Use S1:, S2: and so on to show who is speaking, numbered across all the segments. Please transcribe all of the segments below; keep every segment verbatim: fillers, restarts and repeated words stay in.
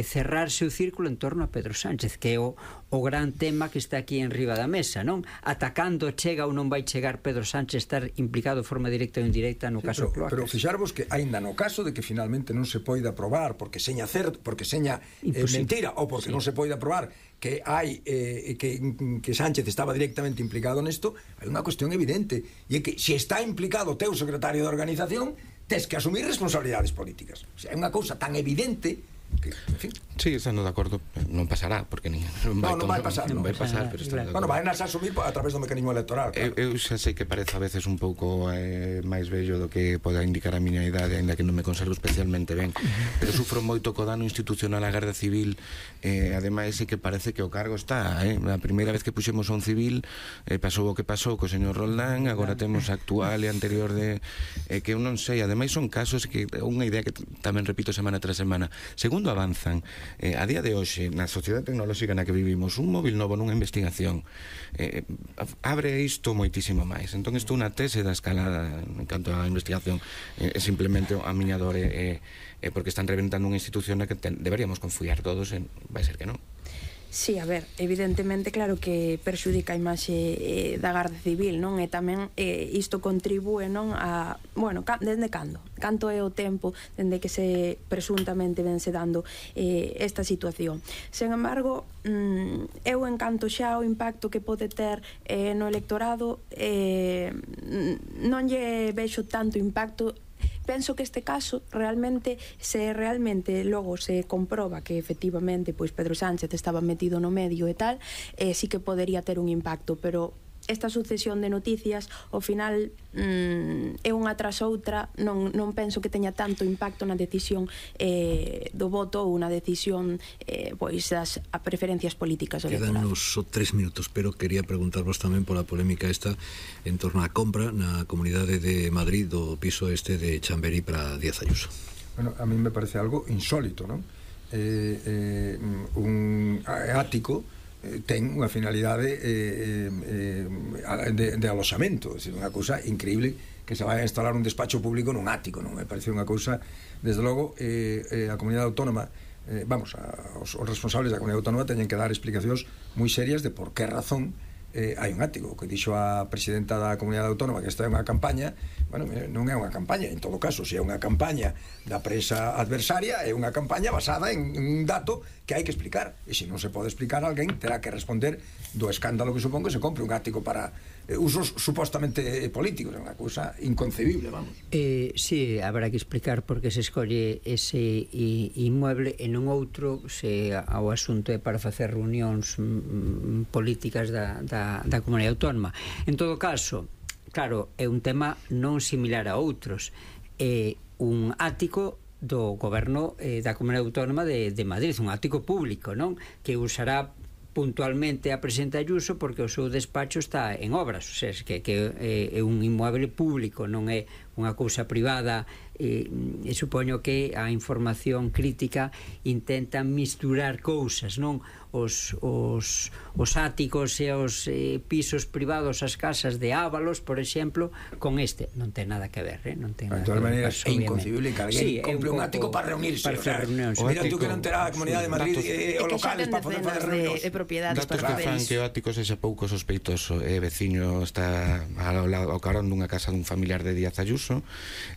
S1: cerrarse o círculo en torno a Pedro Sánchez, que é o, o gran tema que está aquí en riba da mesa, non? Atacando chega ou non vai chegar Pedro Sánchez estar implicado de forma directa ou indirecta no sí, caso
S2: pero,
S1: Cloacas.
S2: Pero fixarvos que aínda no caso de que finalmente non se poida aprobar porque seña certo, porque seña eh, mentira ou porque sí. non se poida aprobar que hai eh, que, que Sánchez estaba directamente implicado nesto, hai unha cuestión evidente, e é que se está implicado o teu secretario de organización, tes que asumir responsabilidades políticas. O sea, é unha cousa tan evidente que, en fin.
S3: Sí, estando de acordo, non pasará, porque nin, non vai,
S2: no, non vai pasar,
S3: non
S2: non
S3: vai pasar, pero
S2: claro. Bueno, vai nas asumir a través do mecanismo electoral, claro.
S3: Eu, eu xa sei que parece a veces un pouco eh, máis bello do que poda indicar a miña idade, ainda que non me conservo especialmente ben, pero sufro moito co dano institucional á Garda Civil, eh, ademais é que parece que o cargo está, eh? A primeira vez que puxemos a un civil eh, pasou o que pasou co señor Roldán, agora temos a actual e anterior de eh, que eu non sei, ademais son casos que unha idea que tamén repito semana tras semana, segundo avanzan, eh, a día de hoxe na sociedade tecnolóxica na que vivimos, un móvil novo nunha investigación eh, abre isto moitísimo máis. Entón isto unha tese da escalada en canto á investigación é eh, simplemente a miña dor é eh, eh, porque están reventando unha institución na que ten, deberíamos confiar todos en, vai ser que non.
S4: Sí, a ver, evidentemente claro que perxudica a imaxe eh, da Garda Civil, non? E tamén eh, isto contribúe, non, a, bueno, ca, dende cando? Canto é o tempo dende que se presuntamente vense dando eh, esta situación. Sen embargo, mm, eu encanto xa o impacto que pode ter eh, no electorado, eh, non lle vexo tanto impacto. Penso que este caso realmente, se realmente logo se comproba que efectivamente pois Pedro Sánchez estaba metido no medio e tal, eh, sí que podería ter un impacto, pero esta sucesión de noticias ao final mm, é unha tras outra, non, non penso que teña tanto impacto na decisión eh, do voto ou na decisión eh, pois das a preferencias políticas do electorado.
S5: Quedanos só tres minutos, pero quería preguntarvos tamén pola polémica esta en torno á compra na Comunidade de Madrid do piso este de Chamberí para Díaz Ayuso.
S2: Bueno, a mí me parece algo insólito, non? Eh, eh, un ático ten unha finalidade eh, eh, de, de aloxamento, é dicir, unha cousa increíble que se vai a instalar un despacho público nun ático, non? Me parece unha cousa, desde logo eh, eh, a comunidade autónoma eh, vamos, a, os, os responsables da comunidade autónoma teñen que dar explicacións moi serias de por que razón eh, hai un ático. O que dixo a presidenta da comunidade autónoma que esta é unha campaña, bueno, non é unha campaña, en todo caso, se é unha campaña da presa adversaria, é unha campaña basada en un dato que hai que explicar, e se non se pode explicar, alguén terá que responder do escándalo que supón que se compre un ático para eh, usos supostamente políticos. É unha cousa inconcebible, vamos.
S1: Eh, sí, habrá que explicar por que se escolle ese inmueble e non outro, se ao asunto é para facer reunións mm, políticas da, da, da comunidade autónoma. En todo caso, claro, é un tema non similar a outros. É un ático do goberno eh, da comunidade autónoma de, de Madrid, un ático público, non? Que usará puntualmente a presidenta Ayuso porque o seu despacho está en obras, o sea, que, que é, é un inmueble público, non é unha cousa privada. E, e supoño que a información crítica intenta misturar cousas, non? Os, os, os áticos e os eh, pisos privados, as casas de Ábalos, por exemplo, con este non ten nada que ver, eh? Non ten
S2: de todas maneiras é inconcebible que alguén sí, compre un, un ático para reunirse,
S1: para facer reunións.
S2: Mira tú que non terá a Comunidade de Madrid e os locales para poder facer reunións.
S3: Datos que fan que o ático sexa pouco sospeitoso. É veciño, está ao lado, ao carón dunha casa dun familiar de Díaz Ayuso,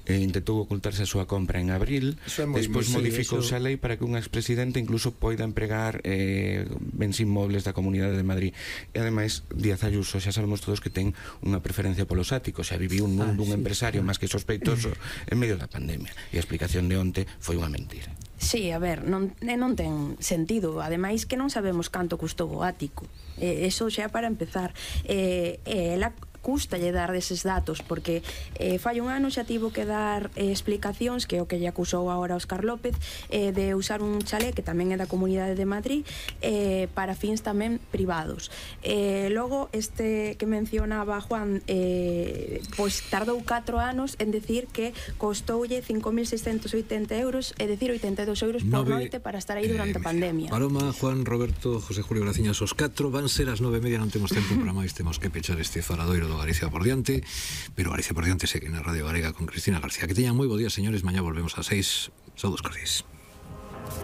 S3: e intentou ocultarse a súa compra en abril, despois modificouse a lei para que un expresidente incluso poida empregar eh, bens inmobles da Comunidade de Madrid. E ademais Díaz Ayuso xa sabemos todos que ten unha preferencia polos áticos, xa viviu un mundo, ah, un sí, empresario máis que sospeitoso en medio da pandemia, e a explicación de onte foi unha mentira.
S4: Sí, a ver, non, non ten sentido. Ademais que non sabemos canto custou o ático, eh, eso xa para empezar. eh, eh, ela custalle dar deses datos porque eh, fai un ano xa tivo que dar eh, explicacións, que é o que lle acusou agora Óscar López, eh, de usar un chalé que tamén é da Comunidade de Madrid eh, para fins tamén privados. Eh, logo este que mencionaba Juan, eh, pois tardou catro anos en decir que costoulle cinco mil seiscentos oitenta euros, é dicir, oitenta e dos euros por
S5: nove,
S4: noite para estar aí durante eh, a pandemia.
S5: Paloma, Juan, Roberto, José Julio Graciñas, os catro van ser as nove e media, non temos tempo para máis, temos que pechar este faradoiro do Galicia por diante, pero Galicia por diante segue na Radio Galega con Cristina García. Que teñan moi bo día, señores, mañá volvemos a seis. Saúdos cordiais.